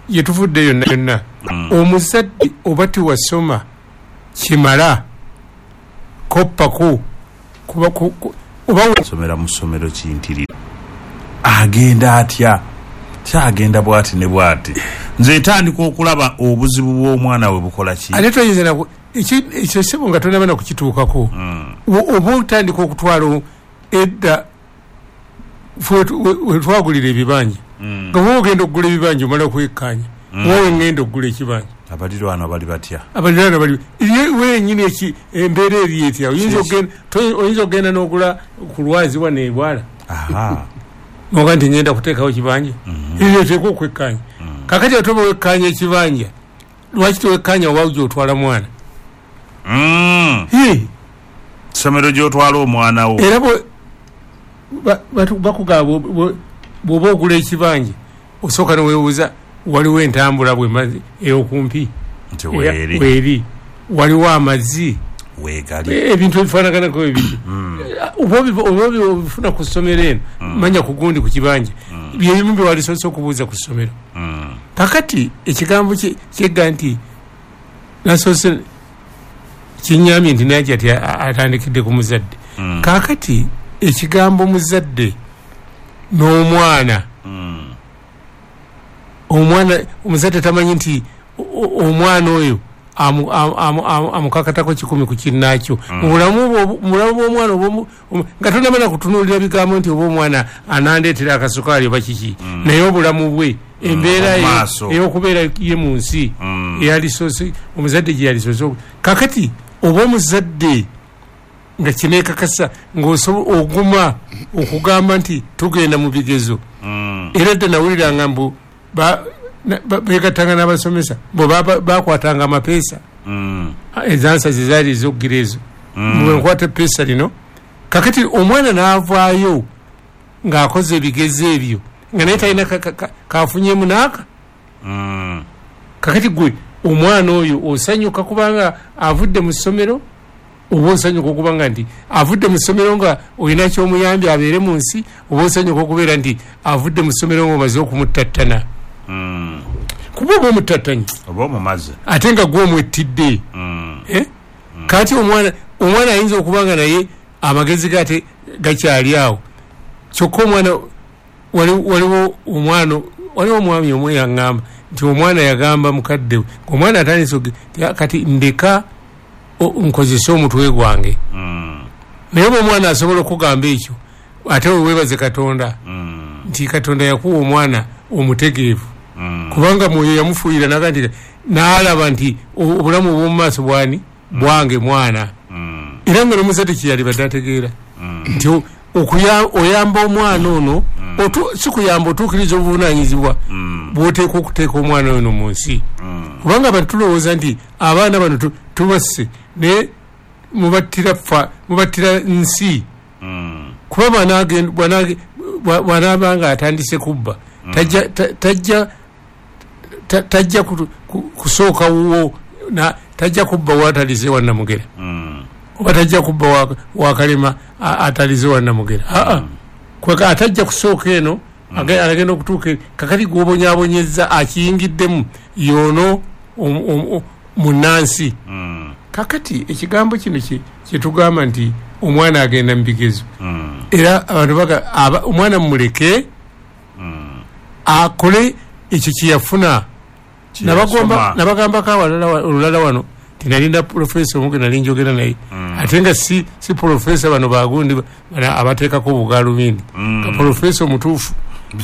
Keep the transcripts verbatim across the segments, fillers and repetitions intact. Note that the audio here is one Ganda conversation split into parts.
Yetuvudde yonna yonna, omuzadde oba tewasoma kimala, koppako kuba oba somera mu ssomero kintirira. Agenda atya? Kyagenda bwati ne bwati. Nze ntandika okulaba obuzibu bw'omwana we bukola ki. Ate toyinza na ekyo sebo nga tonaba na kukituukako. Oba otandika okutwala edda wetwagulira ebibanja. Nga bw'oba ogenda okugula ebibanja omala okwekkaanya. Wowe ngenda okugula ekibanja. Abalirwana bali batya? Abalirwana bali wenyini eki embeera eri etya? Oyinza okugenda oyinza okugenda n'ogula ku lwazi wano ebwala. Aha. Noga nti ngenda kuteekawo kibanja. Ebyo oteekwa okwekkaanya. Kakati ate oba wekkaanya ekibanja, lwaki tewekkaanya oba gy'otwala mwana? Ssomero gy'otwala omwana wo. Era bakugamba bw'oba ogula ekibanja osooka neweebuuza waliwo entambula bwe ey'okumpi weeri, waliwo amazzi weegali, ebintu ebifaanaganako ebiri oba obifuna ku ssomero eno, manya ku gundi ku kibanja, byebimu bye walisoose okubuuza ku ssomero. Kakati ekigambo kyegga nti nasoose kinyamye nti naye ati atandikidde ku muzadde. Kakati ekigambo muzadde n'omwana, omwana omuzadde tamanyi nti omwana oyo amukakatako kikumi ku kinnaakyo. Mu bulamu bw'omwana nga tonamala kutunuulira bigambo nti oba omwana anandeetera akasukaali oba kiki, naye obulamu bwe embeera ey'okubeera ye mu nsi eyalisoose omuzadde gye yalisoose. Kakati oba omuzadde nga kineekakasa ng'oguma okugamba nti tugenda mu bigezo. Era dda nawuliranga mbu beegattanga n'abasomesa bo bakwatanga amapeesa, ezansa ze zaali ez'okugira ezo, nkwata epeesa lino. Kakati omwana n'avaayo ng'akoze ebigezo ebyo nga naye talina kafunyemu n'aka. Kakati gwe omwana oyo osanyuka kubanga avudde mu ssomero, oba osanyuka okubanga nti avudde mu ssomero nga olina ky'omuyambye abeere mu nsi, oba osanyuka okubeera nti avudde mu ssomero ng'omaze okumuttattana. Kuba oba omuttattanye oba omumaze ate nga gwe omwettidde. Kati omwana omwana ayinza okuba nga naye amagezi ge ate gakyali awo. Kyokka omwana waliwo omwana waliwo omwami omu yaŋŋamba nti omwana yagamba mukadde we, omwana atandise kati ndeka nkozese omutwe gwange. Naye oba omwana asobola okugamba ekyo, ate weebaze Katonda nti Katonda yakuwa omwana omutegeevu, kubanga mwoyo yamufuuyira naga nti n'alaba nti obulamu obw'omu maaso bwani bwange mwana. Era nga n'omuzadde kye yalibadde ategeera nti oyamba omwana ono, si kuyamba otuukiriza obuvunaanyizibwa bw'oteekwa okuteeka omwana ono mu nsi. Kubanga abantu tulowooza nti abaana bano tubasse naye mubattira fa mubattira nsi. Kuba bw'anaaba nga atandise kubba tajja tajja tajja kusooka wuwo, tajja kubba waatalize Wannamugera, oba tajja kubba Wakalema atalize Wannamugera. Aa, kweka atajja kusooka eno agenda okutuuka. Kakati gw'obonyaabonyezza akiyingiddemu y'ono munnansi. Kakati ekigambo kino kyetugamba nti omwana agenda mu bigezo, era abantu baga omwana mumuleke akole ekyo kyeyafuna. Nabagambako awalala olulala wano nti nalinda pulofeesa omu gwe nali njogera naye, ate nga si si pulofeesa bano bagundi abateekako bugaalubindi, nga pulofeesa omutuufu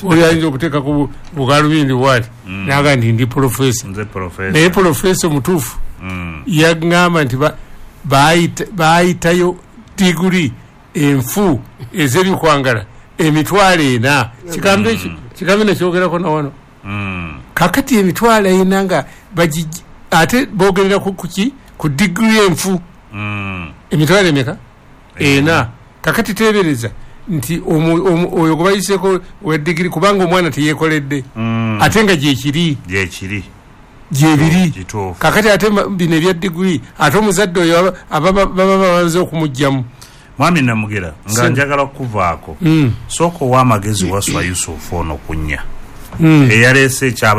oli ayinza okuteekako bugaalubindi bwati naga nti ndi pulofeesa, naye pulofeesa omutuufu yaŋŋamba nti baayitayo diguri enfu ez'ebikwangala emitwalo ena. Kigambo ekyo kigambo nekyogerako nawano. Kakati emitwalo ena nga ate boogerera kuki ku diguri enfu emitwalo emeka ena. Kakati teebereza nti oyo gwe bayiseeko owa digiri, kubanga omwana teyeekoledde ate nga gyekiri gyekiri gyebiri. Kakati ate bino ebya diguri ate omuzadde oyo baba bamaze okumugyamu. Mwami Namugera, nga njagala okuvaako, sooka owa amagezi Waswa Yusufu ono ku nnya eyaleese ekyaba